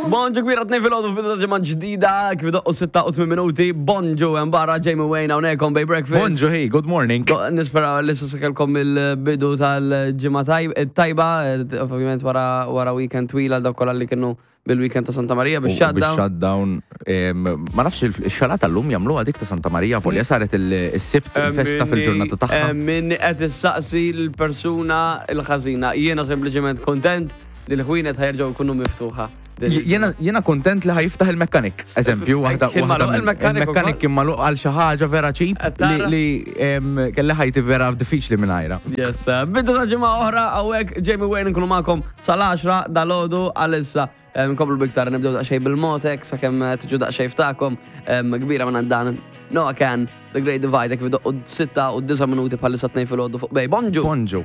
Bonġu kbira tnejn filgħodu f'bidu ta' ġimgħa ġdida kif doqqu 6 u 8 minuti. Bonġu hemm barra Jamie Wayne hawnhekk on Bay Breakfast. Bonġu hey, good morning. Nispera li s'issa kellkom il-bidu tal-ġimgħa tajba, ovvjament wara wara weekend twil għal dawk kollha li kienu bil-weekend ta' Santa Marija biex shutdown. Shutdown. Ma nafx il-xalata llum jagħmluha dik ta' Santa Marija volja saret il-Sibt il-festa fil-ġurnata tagħha. Min qed issaqsi l-persuna l-ħażina. Jiena sempliċement kontent li l-ħwienet ħajerġgħu jkunu miftuħa. Jiena kontent li ħajiftaħ il-mekkanik. Eżempju, waħda il-mekkanik kien magħluq għal xi ħaġa vera ċip li kelli ħajti vera diffiċli mingħajra. Yes, bidu ta' ġimgħa oħra hawnhekk Jamie Wayne nkunu magħkom sal-10 dalgħodu għalissa. Nkomplu biktar nibdew daqsxejn bil-Motek sakemm tiġu daqsxejn ftakom kbira minn dan Noah Can, The Great Divide, kif doqqu 6 u 9 minuti bħalissa 2 filgħodu fuq Bay. Bonġu! Bonġu!